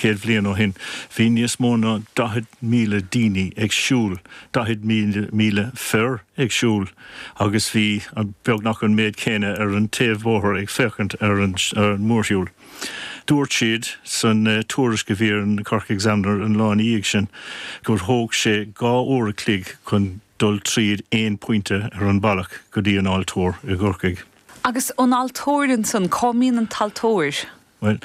100 bhliain ó shin, bhí níos mó ná 40,000 daoine ag siúl, 40,000 fir ag siúl agus bhí beagnach an méid céanna ar an taobh bóthair ag féachaint ar an mórshiúl. Dúirt siad san tuairisc a bhí ar an Cork Examiner an lá ina dhiaidh sin gur thóg sé 2 uair a chloig chun dul tríd aon pointe ar an bealach go dtí an altóir i gCorcaigh. Agus an altóir ansan, cá mbíonn an t-altóir? Bhuel,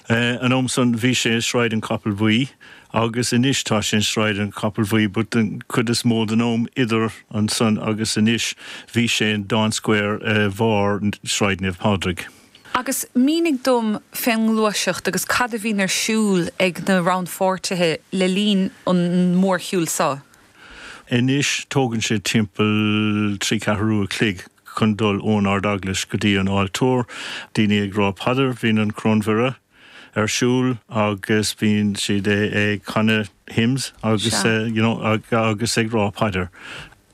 an am san bhí sé i Sráid an Chapaill Bhuí agus anois tá sé in Sráid an Chapaill Bhuí but den chuid is mó den am idir ansan agus anois bhí sé in Dáin Square i bharr Sráid Naomh Pádraig. Agus mínigh dom fén ngluaiseacht agus cad a bhíonn ar siúl ag na rannpháirtithe le linn an mhórshiúil so. Anois tógann sé timpeall trí ceathrú a chloig chun dul ón Ard-Eaglais go dtí an altóir. Daoine ag rá paidir, bíonn an Choróin Mhuire ar siúl agus bíonn siad ag canadh hymns agus you know agus ag rá paidir.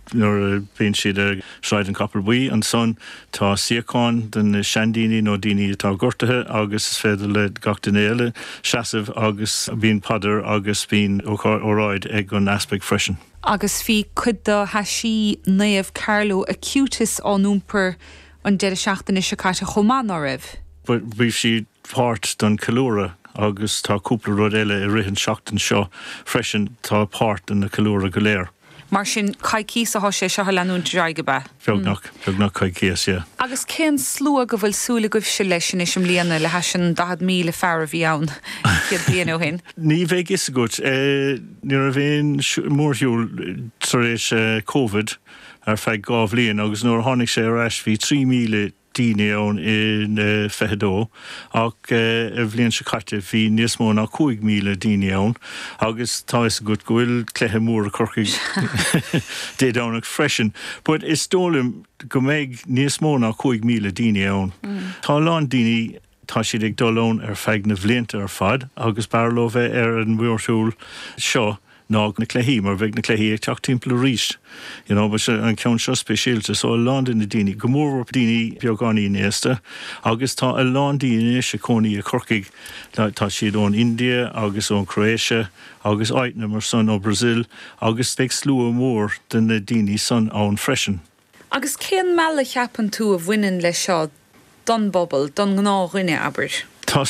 Nuair a bhíonn siad ar Sráid an Chapaill Bhuí ansan tá suíocháin do na seandaoine nó daoine atá gortaithe agus is féidir le gach duine eile seasamh agus bíonn paidir agus bíonn óráid ag an easpag freisin. Agus bhí cuid de thaisí Naomh Carlo Acutis á n-iompar an deireadh seachtaine seo caite chomh maith, ná raibh? Bhí siad páirt den cheiliúradh agus tá cúpla rud eile i rith an seachtain seo freisin tá páirt den na ceiliúradh go léir. Mar sin, coicíos atá sé seo a leanúint ar aghaidh, ab ea? Beagnach, beagnach coicíos, yeah. Agus cén slua go bhfuil súil agaibhse leis anois i mbliana, le hais an 40,000 fear a bhí ann 100 bliain ó shin? Ní bheidh fhios agat. Ní raibh aon mórshiúl tar éis Covid ar feadh 2 bhliain agus nuair a tháinig sé ar ais bhí 3,000 daoine ann in 22 ach an bhliain seo caite bhí níos mó ná 5,000 daoine ann agus tá fhios agat go bhfuil cluiche mór i Corcaigh Dé Domhnaigh freisin. But is dóigh liom go mbeidh níos mó ná 5,000 daoine ann. Tá a lán daoine, tá siad ag dul ann ar feadh na bhlianta ar fad agus b'fhearr leo bheith ar an mhórshiúl seo ná na cluichí, mar bheidh na cluichí ag teacht timpeall arís, you know, but an ceann seo speisialta, so a lán de na daoine, go mórmhór daoine beagáinín aosta, agus tá a lán daoine anois ag cónaí i Corcaigh, tá siad ón India agus ón Croatia agus áiteanna mar san, ó Brazil, agus beidh slua mór de na daoine san ann freisin. Agus cén mealladh a cheapann tú a bhaineann leis seo don bpobal, don ngnáthdhuine, abair? Tá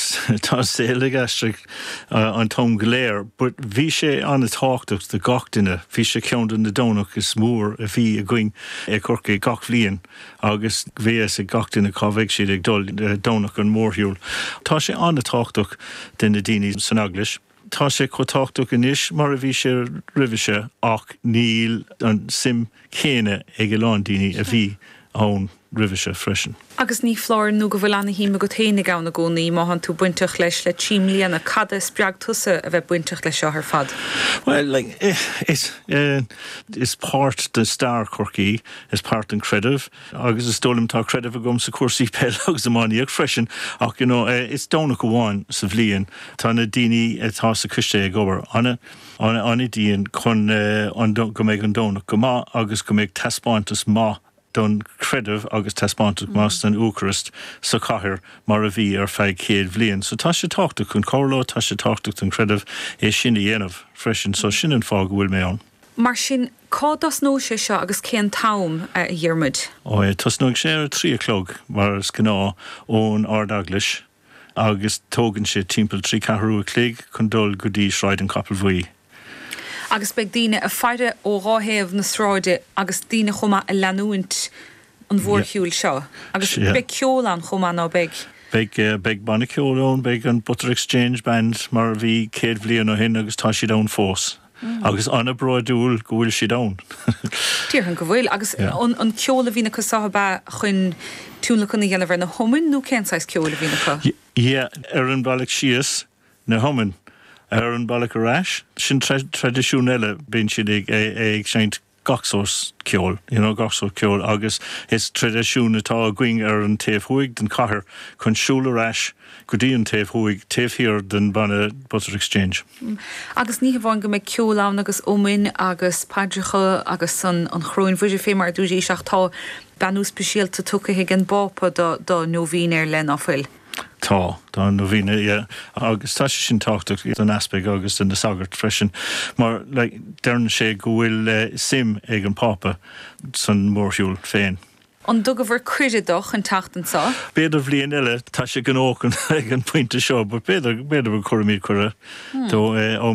an saol ag aistriú an t-am go léir, but bhí sé an-tábhachtach do gach duine. Bhí sé ceann de na Domhnach is mór a bhí againn i Corcaigh gach bhliain agus bhí fhios ag gach duine cá bheidh siad ag dul Domhnach an mhórshiúil. Tá sé an-tábhachtach do na daoine san eaglais. Tá sé chomh tábhachtach anois mar a bhí sé roimhe seo ach níl an suim chéanna ag a lán daoine a bhí ann roimhe seo freisin. Agus ní foláir nó go bhfuil ana-shuim agat fhéinig ann i gcónaí, má thánn tú bainteach leis le trí mbliana, cad a spreag tusa a bheith bainteach leis seo ar fad? Bhuel, like, is, is páirt de stair Chorcaí, is páirt den creideamh, Agus is dóigh liom tá creideamh agam sa cúrsaí peile agus iománaíocht freisin ach you know is Domhnach amháin sa bhliain. Tá na daoine atá sa choiste ag obair an-dian chun an go mbeidh an Domhnach go maith agus go mbeidh taispeántas maith don chreideamh agus taispeántas maith don Eocairist sa chathair mar a bhí ar feadh 100 bhliain. So tá sé tábhachtach chun cur leo, tá sé tábhachtach don chreideamh é sin a dhéanamh freisin. So sin an fáth go bhfuil mé ann. Mar sin, cá dtosnóidh sé seo agus cén t-am, a Dhiarmuid? Ó, tosnóidh sé ar a 3 a chlog, mar is gnáth, ón Ard-Eaglais agus tógann sé timpeall 3 ceathrú a chloig chun dul go dtí Sráid an Chapaill Bhuí. Agus beidh daoine ag faire ó dhá thaobh na sráide agus daoine chomh maith ag leanúint an mhórshiúil seo. Agus beidh ceol ann chomh maith, ná beidh? Beidh, beidh banna ceoil ann, beidh an Butter Exchange Band mar a bhí 100 bhliain ó shin agus tá siad ann fós. Agus an-bhródúil go bhfuil siad ann. Déarfainn go bhfuil. Agus an ceol a bhíonn acu so ab ea chun tionlacan a dhéanamh ar na hiomainn nó cén saghas ceoil a bhíonn acu? Yeah, ar an bhealach síos, na hiomainn. Ar an bhealach ar ais, sin traidisiún eile, bíonn siad ag seinnt gach sórt ceoil, you know, gach sórt ceoil agus is traidisiún atá againn ar an taobh thuaidh den chathair chun siúl ar ais go dtí an taobh thuaidh, taobh thiar den banna Butter Exchange. Agus ní hamháin go mbeidh ceol ann agus iomainn agus paidreacha agus an Choróin Mhuire fé mar a dúraís ach tá beannú speisialta tugtha ag an bPápa do, do nóibhín ar leith, ná fuil? Tá, tá an novena, yeah. Agus tá sé sin tábhachtach don easpag agus do na sagairt freisin mar like deireann sé go bhfuil suim ag an Pápa san mórshiúl féin. An dtugabhair cuireadh dó chun teacht anso? B'fhéidir bhliain eile, tá sé gnóthach ag an bpointe seo but b'fhéidir, b'fhéidir go gcuirfimid cuireadh dó ó.